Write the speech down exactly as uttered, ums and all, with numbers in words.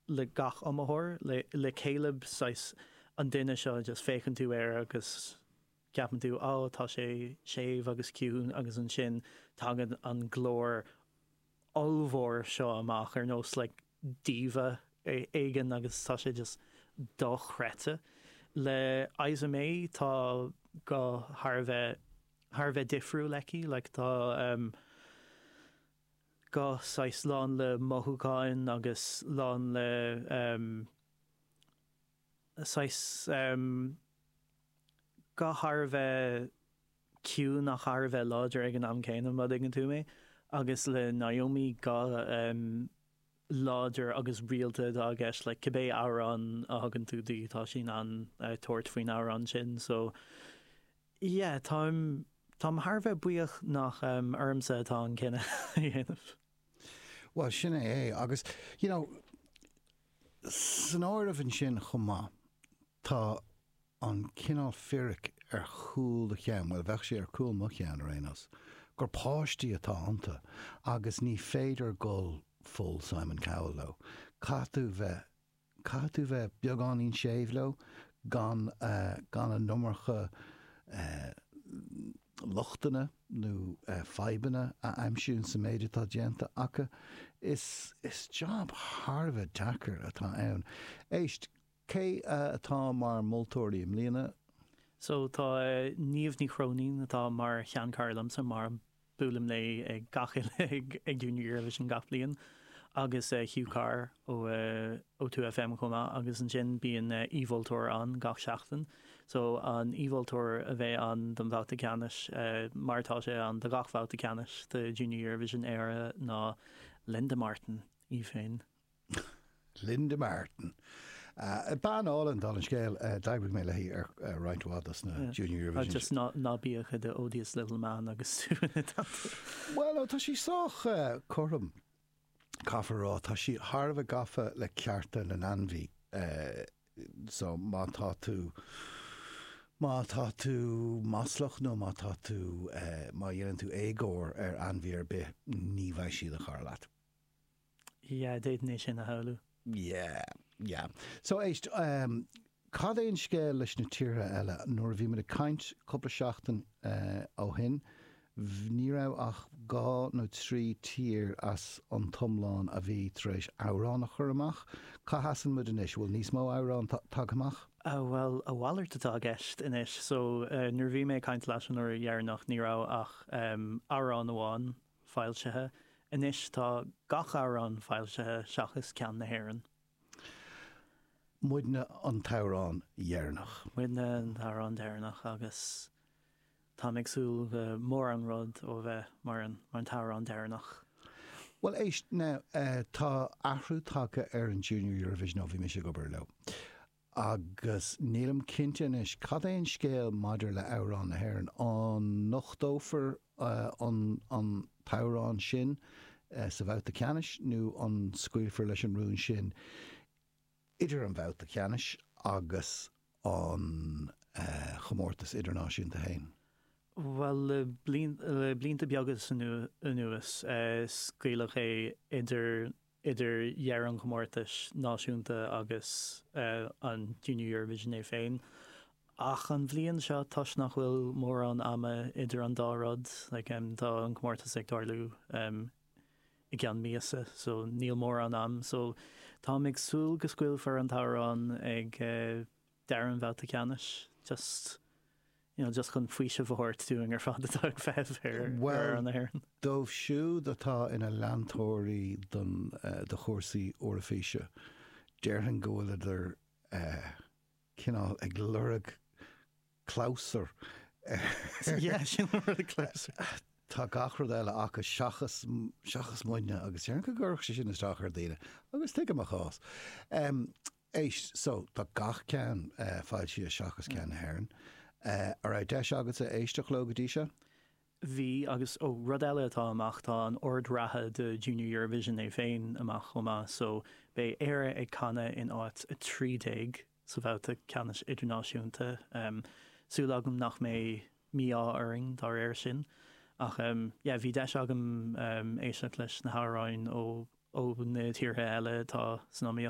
le gach iomaitheoir. Le le Caleb, saghas an duine seo, just féachann tú air agus ceapann tú, "Ó, tá sé séimh agus ciúin," agus ansin tagann an glór ollmhór seo amach ar nós like diva éigin agus tá sé just dochreidte. Le Isa May, tá guth thar a bheith thar a bheith difriúil aici, like tá um, guth saghas lán le mothúcháin agus lán le um, saghas um, guth thar a bheith ciúin ach thar a bheith láidir ag an am céanna, má thuigeann tú mé. Agus le Naomi, guth um, láidir agus rialta atá i gceist, like cibé amhrán a thugann tú di, tá sí in ann uh, tabhairt faoin amhrán sin. So yeah, táim táim thar a bheith buíoch nach um, ormsa atá an cinneadh a dhéanamh. Well, sin é é agus you know, san áireamh ansin chomh maith tá an cineál fíric ar chúl do cheann, well, bheadh sé ar chúl mo cheann ar aon nós, gur páistí atá iontu agus ní féidir dul full Simon Cowell leo. Caithfidh tú bheith caithfidh tú bheith beagáinín séimh leo gan uh, gan an iomarca uh, lochtanna nó uh, fadhbanna a aimsiú sa méid atá déanta acu. Is, is job thar a bheith deacair atá ann. Éist, cé uh, atá mar moltóirí i mbliana? So tá uh, Niamh Ní Chróinín atá mar sheanchara liomsa, mar buailim léi ag gach ag ag Junior Eurovision gach bliain, agus uh, Hugh Carr ó uh, ó two F M chomh maith, agus ansin bíonn uh, aoi-mholtóir ann gach seachtain. So an aoi-mholtóir a bheidh ann don bhabhta ceannais, uh, mar tá sé ann do gach babhta ceannais de Junior Eurovision Éire, ná Linda Martin í féin. Linda Martin. Uh, bean álainn, dála an scéil. uh, d'oibrigh mé léi ar uh, roinnt mhaith dos na Yeah. Junior Uh, Eurovision. just ná ná bíodh i do odious little man agus tú ina teannta. Well, ó, tá sí sách uh, cothrom, caithfear rá. Tá sí thar a bheith gafa le cearta na n-ainmhí. Uh, so má tá tú má tá tú maslach nó má tá tú uh, má dhéanann tú éagóir ar ainmhí ar bith, ní bheidh sí ina cara leat. Yeah, d'fhéadfainn é sin a shamhlú. Yeah, yeah. So éist, um, cad é an scéal leis na tíortha eile? Nuair a bhí muid ag caint cúpla seachtain uh, ó shin, v- ní raibh ach dhá nó trí tír as an t-iomlán a bhí tar éis amhrán a chur amach. Cá sheasann muid anois? Bhfuil níos mó amhrán tagtha amach? Uh, well, a mhalairt atá i gceist anois, so uh, nuair bhí mé ag caint leat an uair dheireanach, ní raibh ach um, amhrán amháin foilsithe. Anois tá gach amhrán foilsithe seachas ceann na hÉireann. Muidne an t-amhrán dheireanach. Muidne an t-amhrán deireanach, agus tá ag súil go mór an rud ó bheith mar an mar an t-amhrán deireanach. Well, éist now, uh, tá athrú tagtha ar an Junior Eurovision ó bhí mise ag obair leo. Agus nílim cinnte anois cad é an scéal maidir le amhrán na hÉireann. An nochtófar uh, an, an t-amhrán sin uh, sa bhabhta ceannais nó an scaoilfear leis an rún sin idir an bhabhta ceannais agus an uh, chomórtas idirnáisiúnta féin? Well, le blian- le blianta beaga anuas, uh, scaoileadh é idir idir dheireadh an chomórtais náisiúnta agus uh, an Junior Eurovision é féin. Ach an bhliain seo, toisc nach bhfuil mórán ama idir an dá rud, like, um, tá an comórtas ag tarlú um, i gceann míosa, so níl mórán am, so tá ag súil go scaoilfear an t-amhrán ag uh, deireadh an bhabhta ceannais, just you know, just chun faoiseamh a thabhairt dúinn ar fad atá ag feitheamh ar Well, ar an Éireann. Dóibh siúd atá ina leantóirí don uh, do chúrsaí Eoraifíse, déarfainn go bhfuileadar uh, cineál ag lorg clabhsúr. Yeah, sin an rud close. Tá gach rud eile acu seachas seachas muidne, agus déarfainn go gcuirfeadh sé sin isteach ar daoine agus tuigim a chás. Um, éist, so tá gach ceann uh, foilsithe seachas ceann na hÉireann. Uh, an raibh deis agat a éisteacht leo go dtí seo? Bhí, agus ó, rud eile atá amach, tá an ord reatha de Junior Eurovision é féin amach chomh maith, so beidh Éire ag canadh in áit a trí déag sa bhabhta ceannais idirnáisiúnta. Um, súil agam nach mbeidh mí-ádh orainn dá réir sin. Ach um, yeah, bhí deis agam um, éisteacht leis na hamhráin ó ó na tíortha eile atá san iomaíocht.